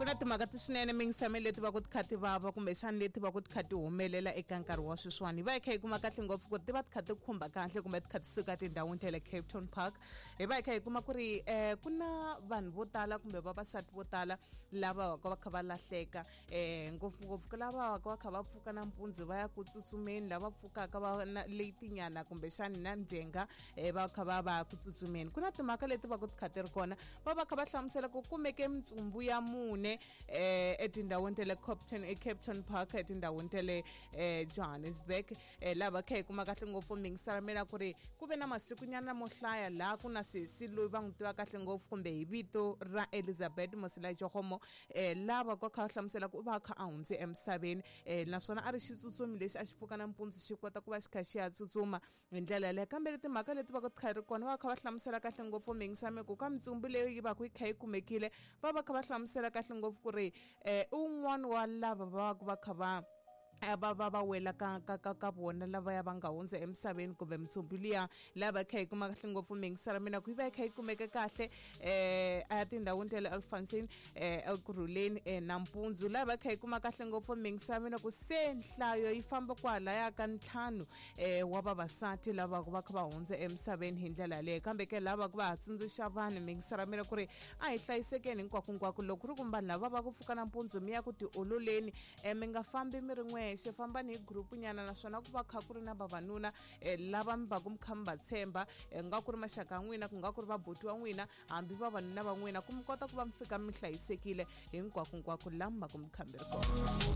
Ku na timhaka ti swinene mingisame leti va ku ti kha ti vava kumbexani leti va ku ti kha ti humelela eka nkarhi wa sweswiwani. Hi va hi kha hi kuma kahle ngopfu ku ti va ti kha ti khumba kahle kumbe ti kha ti suka tindhawini ta le Cape Town Park. Hi va hi kha hi kuma ku ri ku na vanhu vo tala kumbe vavasati vo tala lava va ka va kha va lahleka, ngopfungopfu ku lava va ka va kha va pfuka nampundzu va ya ku tsutsumeni, lava pfukaka va na letinyana kumbexani na ndzhenga, va kha va va ku tsutsumeni. Ku na timhaka leti va ku ti kha ti ri kona, va va kha va hlamusela ku kumeke mitsumbu ya mune etindhawini ta le Copton, eCape Town Park, etindhawini ta le Johannesburg. Laha va kha hi kuma kahle ngopfu mingisela mina ku ri ku ve na masikunyana mo hlaya laha ku na sesi loyi va n'wi tiva kahle ngopfu kumbe hi vito ra Elizabeth Mosilajogomo, lava va kha va hlamusela ku va kha a hundze emisaveni, naswona a ri xitsutsumi lexi a xi pfuka nampundzu xi kota ku va xi kha xi ya tsutsuma hi ndlela yaleyo. Kambe timhaka leti va ku ti kha ri kona, va kha va hlamusela kahle ngopfu mingisame ku ka mitsumbu leyi yi va ku yi kha yi kumekile, va va kha va hlamusela kahle ngopfu ku ri i wun'wana wa lava va va kha va va va va wela ka ka ka ka vona lavaya va nga hundza emisaveni kumbe mitsumbu liya laha va kha yi kuma kahle ngopfu mingisela mina ku yi va yi kha yi kumeke kahle a tindhawini ta le Alfonsine, Ekurhuleni, nampundzu, laha va kha yi kuma kahle ngopfu mingisela mina ku se nhlayo yi famba kwalaya ka 5 wa vavasati lava va kha va hundza emisaveni hi ndlela yaleyo. Kambe ke lava ku va ha tsundzuxa vanhu mingisela mina ku ri a hi hlayisekeni hinkwakunkwako, loko ku ri ku vanhu lava va ku pfuka nampundzu mi ya ku tiololeni, mi nga fambi mi ri n'wexe, fambani hi group nyana, naswona ku va kha ku ri na vavanuna lava mi va ku mi kha mi va tshemba, nga ku ri maxaka ya n'wina, ku nga ku ri vabuti wa n'wina, hambi vavanuna va n'wina, ku mi kota ku va mi fika mi hlayisekile hinkwakunkwako laha mi va ku mi kha mi ri kona.